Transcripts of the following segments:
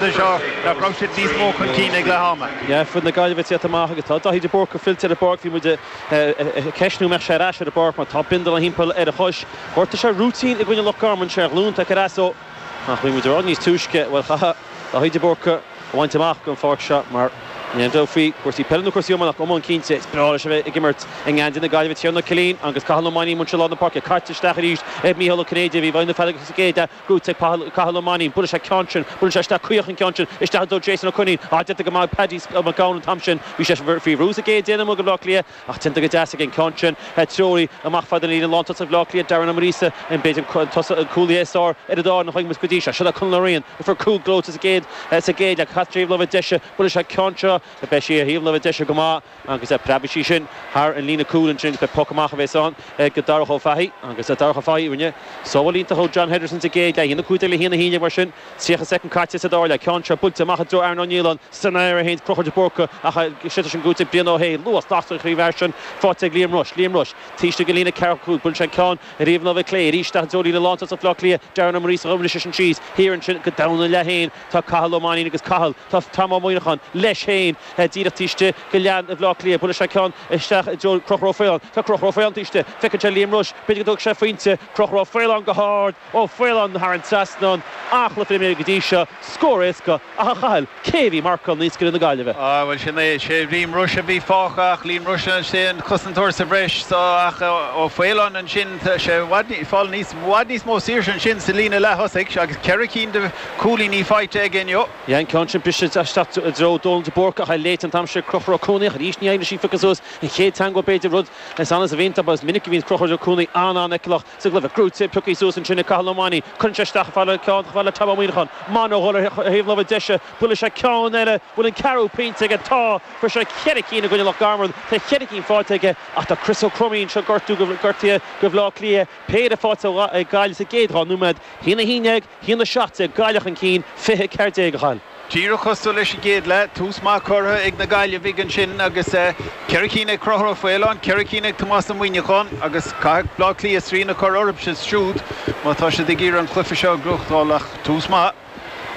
Seo nach raibh siad níos mó chun cinn ag leath ama. Yeah, foireann na Gaillimhe ag tíocht amach agus tá Daithí de Búrca fillte ar an bpáirc. Bhí muid ag ceistniú an mbeadh sé ar ais ar an bpáirc mar tá bindeal thimpeall ar a chois. Ghortaigh sé rúitín i gcoinne Loch Garman, sé a ghlúin tagtha ar ais ó ach bhí muid ag rá níos túisce, bhuel chaithfeadh Daithí de Búrca a bhaint amach den pháirc seo mar ní aon dabht faoi cúrsaí peile nó cúrsaí iomána ach iomáint cinnte is breá leis a bheith ag imirt i ngeansaí na Gaillimhe. Tiarnan Ó Cillín agus Cathal Ó Mainnín anseo i lár na páirce caite isteach arís ag Mícheál Ó Cinnéide a bhí i bhfeighil na feadóige sa gcéad leath. Gnóthaithe ag Cathal Ó Mainnín. Buaileann sé ceann sin. Buaileann sé isteach caoch an ceann sin. Isteach i dtreo Jason Ó Coinín. Á, déanta go maith ag Paddy Mac Gabhann an t-am sin. Bhí sé faoi bhrú sa gcéad déanamh amuigh ag Bleá Cliath ach déanta go deas aige an ceann sin. Treoraí amach fad an líne lántosach Bhleá Cliath, Darren Ó Muiríosa, an b'fhéidir an cúlaí is fearr ar an dá fhoireann a chonaic muid go dtí seo. Seo é Conall Ó Riain. Fuair cúl gleoite sa gcéad sa gcéad leath. Caite taobh láimhe deise. Buaileann sé ceann seo. Beidh sí ar thaobh láimhe deise go maith. Agus preabfaidh sí sin thar an líne cúil ansin agus beidh poc amach a bheas ann ag Darach Ó Fathaigh. Agus Darach Ó Fathaigh, rinne sábháil iontach ó John Henderson sa gcéad leath. 1-15 le 1-11 mar sin. 30 soicind caite sa dara leath. Ceann seo buailte amach i dtreo Aaron Ó Nialláin san aer a théann Conchúr de Búrca ach séidte sin gnóthaithe ag Brian Ó hAodha. Luas lasta an chroí sin faighte ag Liam Rushe. Liam Rushe taobh istigh den líne ceathracha cúig. Buaileann sé an ceann ar thaobh na láimhe clé arís isteach i dtreo líne lántosach Bhaile Átha Cliath. Darren Ó Muiríosa a bhris sin síos thiar ansin go domhan an leath féin. Tá Cathal Ó Mainnín agus Cathal, tá Tom Ó Muíneacháin leis féin díreach taobh istigh de leath Bhaile Átha Cliath. Buaileann sé ceann isteach i dtreo Conchúr Ó Faoláin. Tá Conchúr Ó Faoláin taobh istigh. Feiceann sé Liam Rushe. B'fhéidir go dtógfaidh sé pointe. Conchúr Ó Faoláin go hard. Ó Faoláin thar an trasnán. An-chluiche imeartha go dtí seo. Scór éasca. Ach a Chathail, cé a bhí ag marcáil naoscaire na Gaillimhe? Ah, bhuel sin é. Sé Liam Rushe a bhí fágtha ach Liam Rushe sé an cosantóir sa bhreis so ach Ó Faoláin ansin tá sé i bhfad, fáil níos, i bhfad níos mó saoirse ansin sa líne leath-thosaigh agus ceithre cinn de Cúilíní faighte aige inniu. Yeah, an ceann sin briste isteach i dtreo Dónal de Búrca ach é léite an t-am sin ag Conchúr Ó Cuanaigh ach arís ní éiríonn leis í a phiocadh suas. An chéad teagmháil b'fhéidir, rud is annamh a bhíonn agus is minic a bhíonn Conchúr Ó Cuanaigh an-an-fheiceálach sa gcluiche. Gnóthaithe pioctha suas ansin ag Cathal Ó Mainnín. Cuireann sé isteach fad le ceann fad le Tom Ó Muíneacháin. Mano a dhul ar thaobh láimhe deise. Buaileann sé ceann eile. Bhfuil an ceathrú pointe aige? Tá! Fuair sé cheithre cinn i gcoinne Loch Garman. Tá cheithre cinn faighte aige ach tá Chris Ó Cruimín anseo gortú gortaithe do Bhaile Átha Cliath. Péire faighte ag Gaillimh sa gcéad 2 nóiméad. 1-11, 1-17, Gaillimh chun cinn, 20-14 a Chathail. Díreach cosúil leis an gcéad leath, tús maith curtha ag na Gaillimhigh ansin agus ceithre cinn ag Conchúr Ó Faoláin, ceithre cinn ag Tomás Ó Muíneacháin agus caithfidh Bleá Cliath srian a chur orthu siúd má tá siad ag iarraidh an cluiche seo a ghnóthachtáil ach tús maith.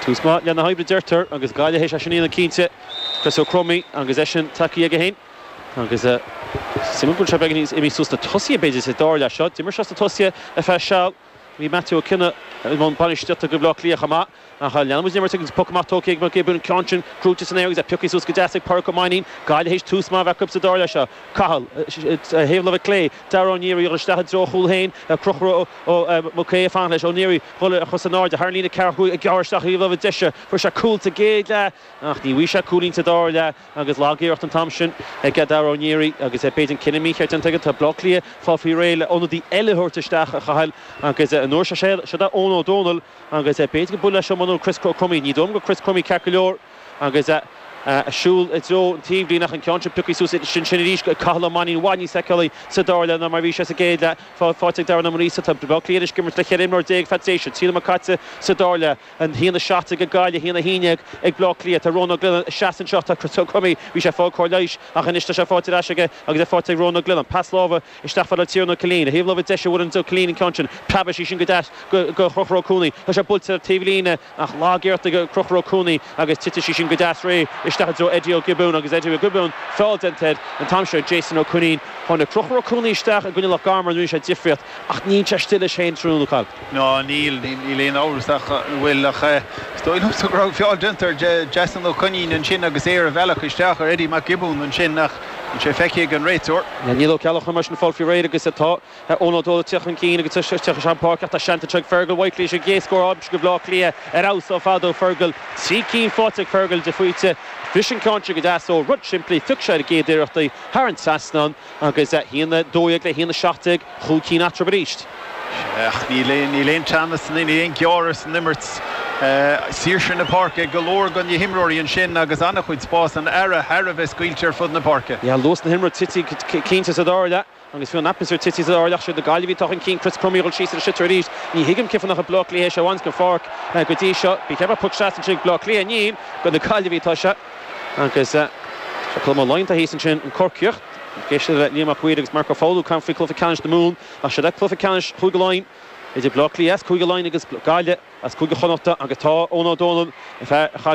Tús maith le na hoibre deirtear agus Gaillimh théis é sin a dhéanamh cinnte. Chris Ó Cruimín agus eisean tagtha aige féin agus suimiúil go bhfuil sé beagán níos imithe suas sna tosaithe b'fhéidir sa dara leath seo. D'imir sé sna tosaithe ar feadh seal. Bhí Matthew Ó Cionnaith i mbun bainistíochta do Bhaile Átha Cliath chomh maith ach leanann muid an imirt agus poc amach tógtha ag Mac Giobúin, an ceann sin gnóthaithe san aer agus é pioctha suas go deas ag Pádraig Ó Mainnín. Gaillimh théis tús maith a bheith acu sa dara leath seo. Cathal, thaobh láimhe clé, Dara Ó Neary ag dul isteach i dtreo a chúl féin, Conchúr Ó Mac Aodha ag fanacht leis, Ó Neary dhul ar chos in airde thar an líne ceathracha cúig ag gearradh isteach thaobh láimhe deise. Fuair sé cúl sa gcéad leath ach ní bhfaighidh sé cúilín sa dara leath. Agus lag-iarracht an t-am sin ag Dara Ó Neary agus b'fhéidir an cinneadh mícheart déanta aige. Tá Bleá Cliath ag fáil faoi réir le ionadaí eile a thabhairt isteach, a Chathail, agus an uair seo seo é Eoin Ó Dónaill agus b'fhéidir go buailfidh leis seo nó Chris Crummey. Ní dóigh liom go Chris Crummey ceart go leor agus ag siúl i dtreo an taobhlíne ach an ceann sin pioctha suas ansin arís ag Cathal Ó Mainnín i bhfad níos feiceálaí sa dara leath ná mar a bhí sé sa gcéad leath. Faighte ag Darren Ó Muiríosa. Tá Bleá Cliath anois ag imirt le 14 imreoir feadh tréimhse. 3 nóiméad caite sa dara leath. 1-17 ag Gaillimh, 1-11 ag Bleá Cliath. Tá Rónán Ó Glionnáin ag seasamh anseo. Tá Chris Ó Cruimí, bhí sé ag fáil cóir leighis ach anois tá sé faighte ar ais aige agus é faighte ag Rónán Ó Glionnáin. Pas láimhe isteach fad le Tiarnan Ó Cillín. A thaobh láimhe deise a bhuaileann Ó Cillín an ceann sin. Preabfaidh sí sin go deas go Chonchúr Ó Cuanaigh. Tá sé buailte ar taobhlíne ach lag-iarracht ag Conchúr Ó Cuanaigh agus titfidh sí sin go deas réidh isteach i dtreo Eddie Ó Giobúin agus Eddie Ó Giobúin feall déanta air an t-am seo ag Jason Ó Coinín. Tháinig Conchúr Ó Cuanaigh isteach i gcoinne Loch Garman rinne sé difríocht ach níl sé istigh leis féin tráthnóna, a Chathail. Ná níl, níl aon amhras ach go bhfuil, ach is dóigh liomsa go raibh feall déanta ar Jason Ó Coinín ansin agus é ar a bhealach isteach ar Eddie Mac Giobúin ansin ach níl sé feicthe ag an réiteoir. Níl Ó Ceallacháin mar sin ag fáil faoi réir agus tá Eoin Ó Dónaill ag teacht chun cinn agus ag teacht isteach an pháirc ach tá seans anseo ag Fergal Whitely leis an gcéad scór aimsithe do Bhaile Átha Cliath ar fheabhas ar fad ó Fergal. Trí cinn faighte ag Fergal de phointe. Bhris an ceann sin go deas ó rud simplí, phioc sé ar an gcéad iarracht í thar an trasnán. Agus 1-12 le 1-17, chúig cinn eatarthu arís. Ach níl aon teannas, níl aon ghearradh san imirt. Saoirse na páirce ag go leor de na himreoirí ansin agus an-chuid spás, an earra thar a bheith scaoilte ar fud na páirce. Yeah, luas na himeartha tite cinnte sa dara leath agus fiú an atmaisféar tite sa dara leath. Siad na Gaillimhigh atá chun cinn, Chris Crummey ag dul síos ar an sliotar arís. Ní thuigim cén fáth nach ag Bleá Cliath é seo a bhaint den pháirc go dtí seo. Bhí ceithre poc seasta ansin ag Bleá Cliath. Níl, do na Gaillimhigh atá sé. Agus sé Colm Ó Laighin atá thíos ansin, an Corcaíoch. Ag éisteacht le Liam Mac Uidhir agus Marc Ó Foghlú ag caint faoi chluiche ceannais na Mumhan. Ach siod é cluiche ceannais Chúige Laighean. idir Bleá Cliath as Cúige Laighean agus Gaillimh as Cúige Chonnachta agus tá Eoin Ó Dónaill, fear a chaith.